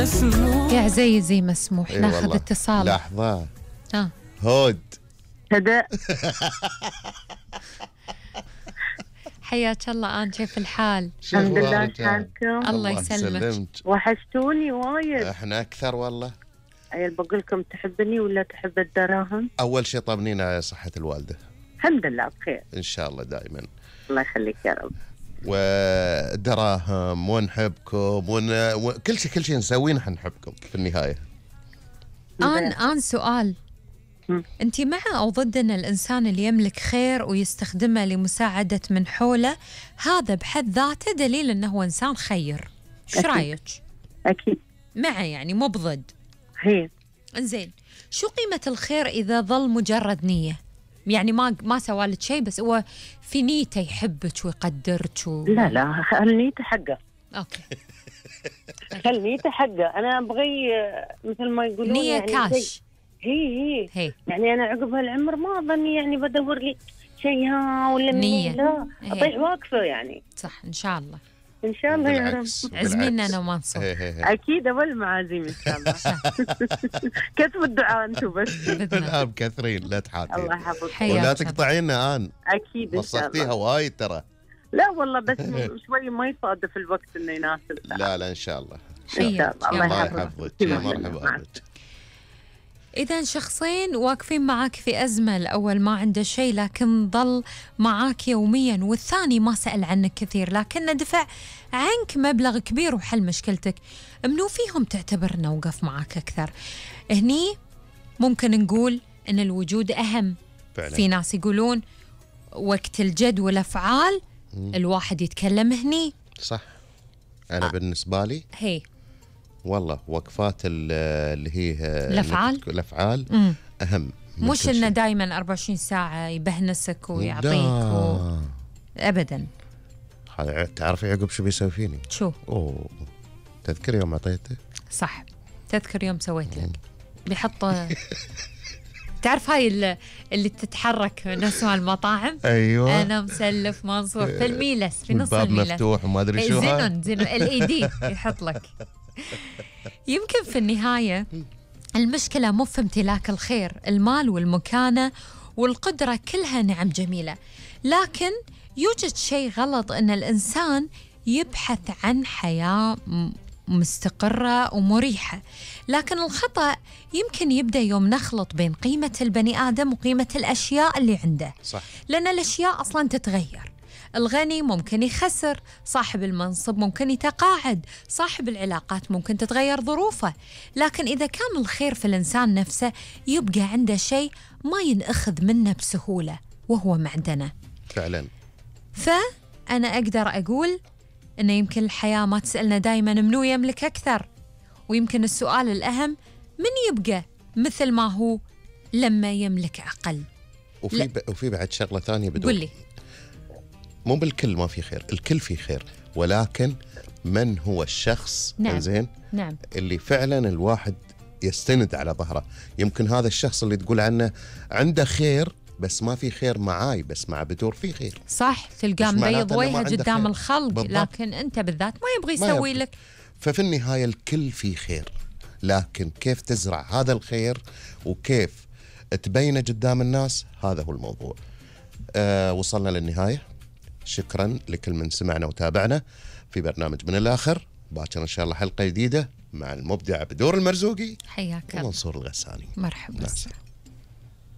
مسموح. يا عزيزي مسموح. ناخذ اتصال. لحظة. هود هداء. حياك الله. أنا كيف الحال؟ الحمد لله. شلونكم؟ الله يسلمك. وحشتوني وايد. احنا أكثر والله. عيل بقول لكم تحبني ولا تحب الدراهم؟ أول شيء طمنينا صحة الوالدة. الحمد لله بخير إن شاء الله دائما. الله يخليك يا رب. ودراهم ونحبكم كل شيء نسويه نحن نحبكم في النهاية. آن سؤال، أنت مع أو ضد أن الإنسان اللي يملك خير ويستخدمه لمساعدة من حوله هذا بحد ذاته دليل أنه هو إنسان خير؟ شو رأيك؟ أكيد معه، يعني مو بضد. هي إنزين، شو قيمة الخير إذا ظل مجرد نية؟ يعني ما سوالك شيء بس هو في نيته يحبك ويقدرك لا خل نيته حقه. أوكي. خل نيته حقه. أنا أبغي مثل ما يقولون نية يعني كاش. هي يعني أنا عقب هالعمر ما أظني يعني بدور لي شيء ولا نية. لا أطيح واقفة يعني. صح إن شاء الله. إن شاء الله يا رب. عزمينا أنا ومنصور. أكيد أول معازيم إن شاء الله. كتبوا الدعاء أنتم بس. الآن مكثرين لا تحاتين. الله يحفظك. ولا تقطعينا آن. أكيد إن شاء الله. وصفتيها وايد ترى. لا والله بس شوي ما يصادف الوقت إنه يناسب. لا إن شاء الله. إن شاء الله. الله يحفظك. مرحبا بك. إذا شخصين واقفين معاك في أزمة، الأول ما عنده شيء لكن ظل معاك يوميا، والثاني ما سأل عنك كثير لكنه دفع عنك مبلغ كبير وحل مشكلتك، منو فيهم تعتبر أنه وقف معاك أكثر؟ هني ممكن نقول أن الوجود أهم فعلا. في ناس يقولون وقت الجد والأفعال الواحد يتكلم هني. صح. أنا بالنسبة لي هي والله وقفات اللي هي الأفعال أهم. مش إنه دايما 24 ساعة يبهنسك ويعطيك أبدا. تعرفي عقب شو بيسوي فيني؟ شو؟ تذكر يوم أعطيته؟ صح، تذكر يوم سويت لك بيحط تعرف هاي اللي تتحرك نفس المطاعم. أيوة. أنا مسلف منصور في الميلس في نص الباب الميلس مفتوح وما أدري شو زينون LED يحط لك. يمكن في النهاية المشكلة مو في امتلاك الخير، المال والمكانة والقدرة كلها نعم جميلة، لكن يوجد شيء غلط إن الإنسان يبحث عن حياة مستقرة ومريحة، لكن الخطأ يمكن يبدأ يوم نخلط بين قيمة البني آدم وقيمة الأشياء اللي عنده. صح. لأن الأشياء أصلاً تتغير، الغني ممكن يخسر، صاحب المنصب ممكن يتقاعد، صاحب العلاقات ممكن تتغير ظروفه، لكن إذا كان الخير في الإنسان نفسه يبقى عنده شيء ما ينأخذ منه بسهولة وهو معدنه فعلا. فأنا أقدر أقول إنه يمكن الحياة ما تسألنا دايما منو يملك أكثر، ويمكن السؤال الأهم من يبقى مثل ما هو لما يملك أقل. وفي بعد شغلة ثانية بدون. قولي. مو بالكل ما في خير، الكل في خير، ولكن من هو الشخص زين نعم. اللي فعلا الواحد يستند على ظهره. يمكن هذا الشخص اللي تقول عنه عنده خير بس ما في خير معاي، بس مع بدور في خير. صح، تلقاه مبيض وجهه قدام الخلق بالضبط. لكن انت بالذات ما يبغى يسوي لك. ففي النهاية الكل في خير، لكن كيف تزرع هذا الخير وكيف تبينه قدام الناس، هذا هو الموضوع. وصلنا للنهاية. شكرا لكل من سمعنا وتابعنا في برنامج من الآخر. باكر إن شاء الله حلقة جديدة مع المبدع بدور المرزوقي. حياك الله. ومنصور الغساني. مرحبا.